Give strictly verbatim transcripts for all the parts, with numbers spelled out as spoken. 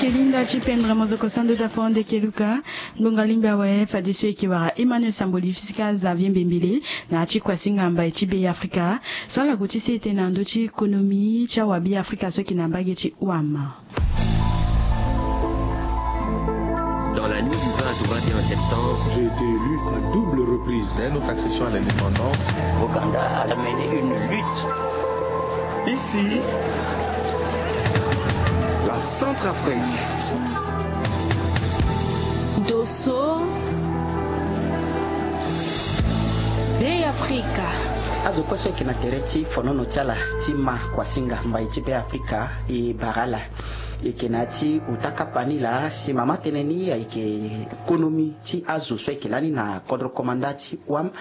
Linda ti pendre mozoko sando da fo ande ke luka. Ngbonga lingbi awe fadeso e ke wara Emmanuel Samboli fisika Xavier Mbembele na ti kuasinga mbai ti Be Afrika. So ala gue ti sete na ndö ti économie ti awa Be Afrika so e ke na mbage ti wama. Dans la nuit du vingt au vingt et un septembre, j'ai été élu à double reprise. Dès notre accession à l'indépendance, Ouganda a mené une lutte. Ici, la Centrafrique. Dosso, Be Afrika. Azo kue so e ke na tere ti fonono ti ala ti ma kuasinga mbai ti Be Afrika e bara ala. E ke na ya ti ota kapa ni laa si mama tënë ni ayeke konomi ti azo so e ke lani na kodro komanda ti wam.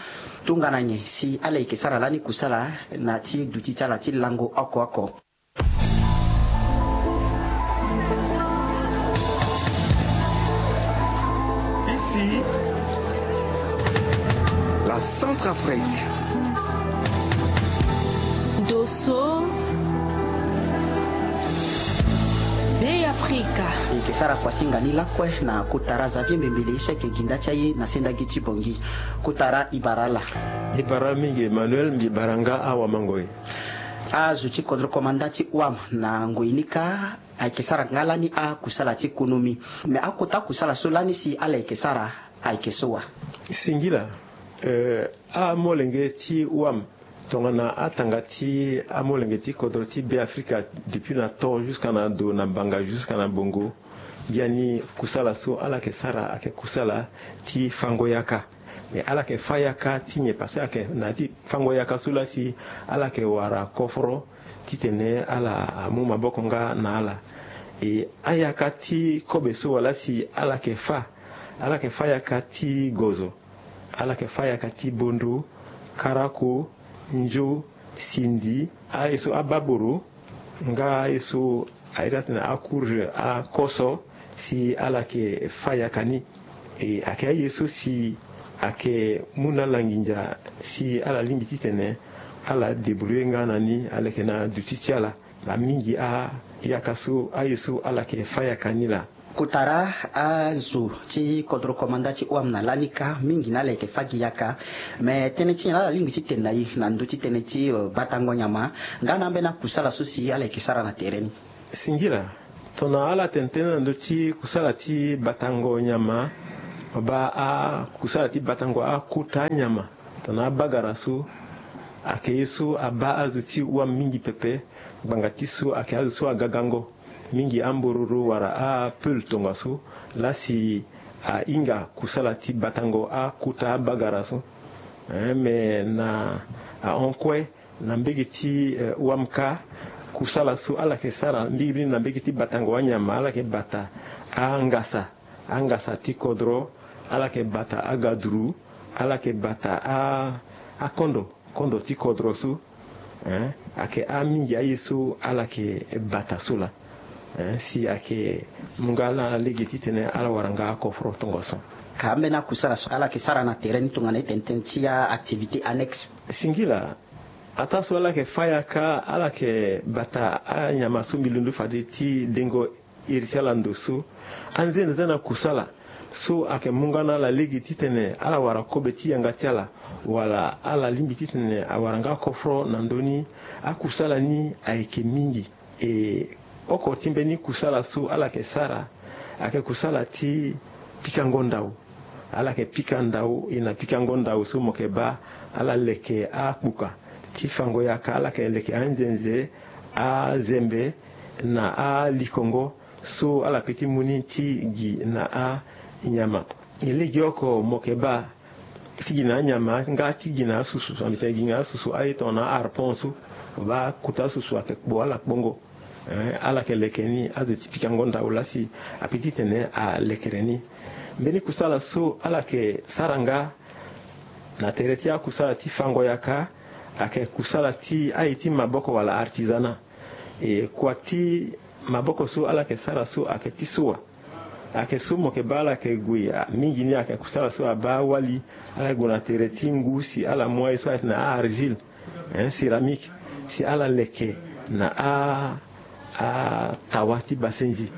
Tongana nyen si ala yeke sara lani kusala na ti duti ti ala ti lango oko oko. Ici, la Centrafrique. Dosso, Be Afrika. E yeke sara kuasinga ni lakue na kota ra Xavier Mbembele so ayeke ginda ti aye na sendagi ti Bongi. Kota ra e bara ala. E bara mingi Emmanuel, mbi bara nga awamangoi. Azo ti kodro komanda ti wam na ngoi ni kâ ayeke sara nga lani akusala ti konomi. Me akota kusala so lani si ala yeke sara ayeke so wa? Singila, eh, amolenge ti wam tongana atanga ti amolenge ti kodro ti Be Afrika, depuis na to jusqu'à na do na mbanga jusqu'à na bongo, biani kusala so ala yeke sara ayeke kusala ti fango yaka. E ala yeke fâ yaka ti nyen? Parce que ayeke na ya ti fango yaka so laa si ala yeke wara koforo titene ala amu maboko nga na ala. E ayaka ti kobe so wala si ala yeke fâ, ala yeke fâ yaka ti gozo, ala yeke fâ yaka ti bondo, karako, nzo, sindi, aye so ababoro, nga aye so a iri atene acourge, akoso, si ala yeke fâ yaka ni. E ayeke aye so si ayeke mu na ala nginza si ala lingbi titene ala débrouiller nga na ni, aleke na duti ti ala. Amingi ayaka so, aye so ala yeke fâ yaka ni laa. Kota ra azo ti kodro komanda ti wam na lani kâ mingi na ala yeke fâ gi yaka. Me tënë ti nyen laa ala lingbi ti tene na e na ndö ti tënë ti, eh, batango nyama nga na ambeni akusala so si ala yeke sara na tere ni? Singila, tongana ala tene tënë na ndö ti kusala ti batango nyama, baa akusala ti batango akota anyama, tongana abagara so ayeke ye so abaa azo ti wam mingi pepe. Ngbanga ti so ayeke azo so agagango, mingi ambororo wala apeul tongaso, laa si ahinga kusala ti batango akota abagara so. Eh, me na ahon kue na mbege ti, eh, wam kâ, kusala so ala yeke sara mingi mingi na mbege ti batango anyama, ala yeke bata angasa, angasa ti kodro, ala yeke bata agaduru, ala yeke bata a, akondo, kondo ti kodro so. Eh, ayeke amingi aye so ala yeke bata so laa. Eh, si ayeke mu nga na ala lege titene ala wara nga akoforo tongaso. Ka ambeni akusala so ala yeke sara na tere ni tongana e tene tënë ti a-activité annexe? Singila, ataa so ala yeke fâ yaka, ala yeke bata anyama so mbi londo fade ti dengo iri ti ala ndo so. Anzene za na kusala so ayeke mu nga na ala lege titene ala wara kobe ti yanga ti ala, wala ala lingbi titene awara nga koforo na ndö ni. Akusala ni ayeke mingi. E oko ti mbeni kusala so ala yeke sara ayeke kusala ti pikango ndau. Ala yeke pika ndau, e na pikango ndau so mo yeke baa ala leke akpuka ti fango yaka, ala yeke leke anzenze, azembe na alikongo so ala peut ti mu ni ti gi na anyama. E lege oko mo yeke baa ti gi na anyama nga ti gi na asusu, so mbi tene gi na asusu aye tongana a-harpon so, mo baa kota asusu ayeke kpo ala kpongo. Eh, ala yeke leke ni, azo ti pikango ndau laa si a peut ti tene alekere ni. Mbeni kusala so ala yeke sara nga na tere ti akusala ti fango yaka ayeke kusala ti aye ti maboko wala artisanat. E kua ti maboko so ala yeke sara so ayeke ti soa. Ayeke so mo yeke baa ala yeke gue, a, mingi ni ayeke kusala so abaa awali, ala yeke gue na tere ti ngu si ala mu aye so ayeke na a-argile, eh, céramique, si ala leke na a, atawa ti basenzi.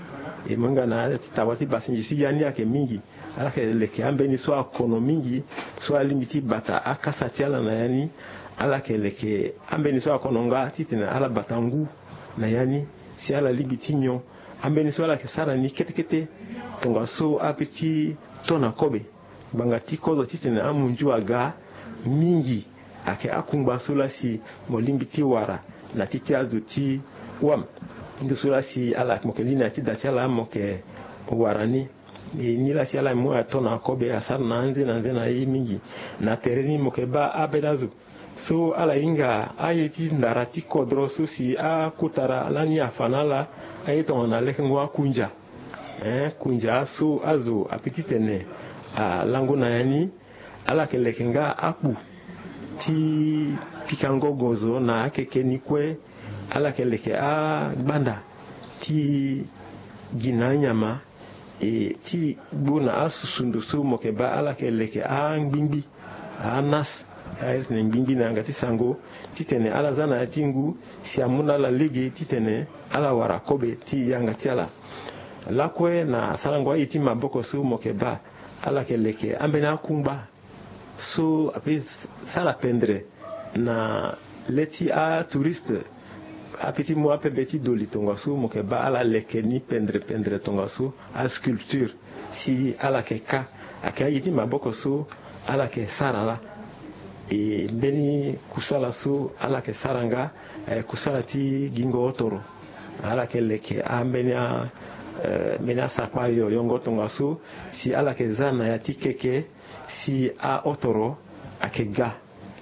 E mo hinga na ya ti tawa ti basingi so ya ni ayeke mingi. Ala yeke leke ambeni so akono mingi, so alingbi ti bata akasa ti ala na ya ni. Ala yeke leke ambeni so akono nga titene ala bata ngu na ya ni, si ala lingbi ti nyon. Ambeni so ala yeke sara ni kete kete, tongaso ape ti to na kobe. Ngbanga ti kozo titene amunzu aga mingi, ayeke akungba so laa si mo lingbi ti wara na ti ti azo ti wam. Ndo so laa si ala mo yeke li na ya ti da ti ala mo yeke wara ni. E ni laa si ala mu ato na kobe asara na anze na anze na ye mingi. Na tere ni mo yeke baa abeda zo so ala hinga aye ti ndara ti kodro so si akotara lani afa na ala, aye tongana lekengo akunja. Eh, kunja so azo ape titene alango na ya ni. Ala yeke leke nga akpu ti pikango gozo na akeke ni kue. Ala yeke leke agbanda ti gi na anyama. E ti gbu na asusu ndo so mo yeke baa ala yeke leke angbingbi, anas, aye tene ngbingbi na yanga ti sango, titene ala za na ya ti ngu si amu na ala lege titene ala wara kobe ti yanga ti ala. Lakue na sarango aye ti maboko so mo yeke baa, ala yeke leke ambeni akungba so ape sara pendre na le ti atouriste. Ape ti mu apebe ti doli tongaso mo yeke baa ala leke ni pendre pendre tongaso, asculpture, si ala yeke ka. Ayeke aye ti maboko so ala yeke sara laa. E mbeni kusala so ala yeke sara nga, eh, kusala ti gingo otoro. Ala yeke leke ambeni a, eh, mbeni asakpa yo yongo tongaso si ala yeke za na ya ti keke si aotoro ayeke ga.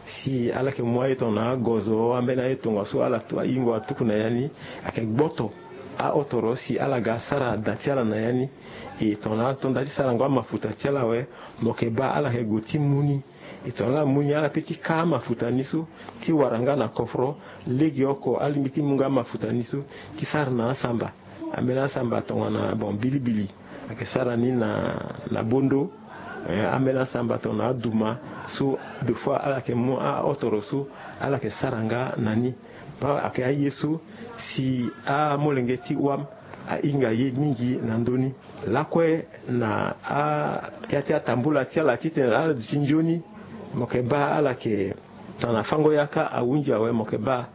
Si ala yeke mu aye tongana agozo ambeni aye tongaso ala tu, ahingo atuku na ya ni, ayeke gboto aotoro si ala ga sara da ti ala na ya ni. E tongana ala to nda ti sarango amafuta ti ala awe, mo yeke baa ala yeke gue ti mu ni. E tongana ala mu ni, ala pe ti ka amafuta ni so ti wara nga na kofro. Legeoko alingbi ti mu nga amafuta ni so ti sara na asamba. Ambeni asamba tongana bon bilibili ayeke sara ni na, na bondo. Eh, ambeni asamba tongana aduma so deux fois ala yeke mu aotoro so ala yeke sara nga na ni. Baa ayeke aye so si amolenge ti wam ahinga ye mingi na ndö ni. Lakue na a, ya ti atambula ti ala titene ala duti nzoni, mo yeke baa ala yeke tongana fango yaka ahunzi awe, mo yeke baa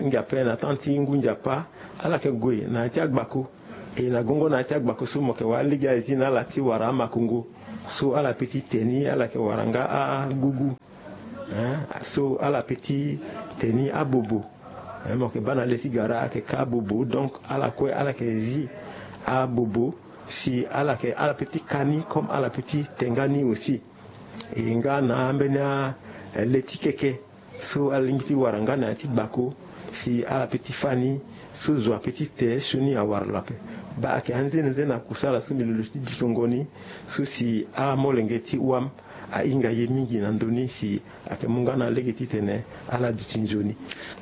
ngia ape na temps ti ngu nzapa ala yeke gue na ya ti agbako. E na gongo na ya ti agbako so mo yeke wara lege aye ti na ala ti wara amakongo so ala pe ti te ni, ala yeke wara nga agugu. Hein, so ala pe ti te ni abobo. Hein, mo yeke baa na le ti gara ayeke ka abobo, donc ala kue ala yeke zi abobo si ala yeke, ala pe ti ka ni comme ala pe ti te nga ni aussi. E nga na ambeni a, eh, le ti keke so ala lingbi ti wara nga na ya ti gbako si ala pe ti fâ ni so zo ape ti te sioni awara lo ape. Baa ayeke anzenenze na kusala so mbi lo lo ti dikongo ni so si amolenge ti wam ahinga ye mingi na ndö ni si ayeke mu nga na lege titene ala duti nzoni.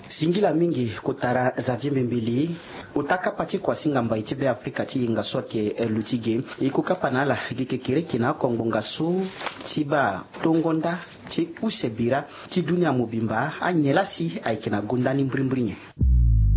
Singila mingi kotara Xavier Mbembeli. Ota kapa ti kuasinga mbai ti Beafrika ti yenga so ayeke, eh, luti ge. E ko kapa na ala gi kekereke na akongbonga so ti baa tongo nda ti use bira ti dunia mobimba. Anyen laa si ayeke na gonda ni mbirimbiri nyen?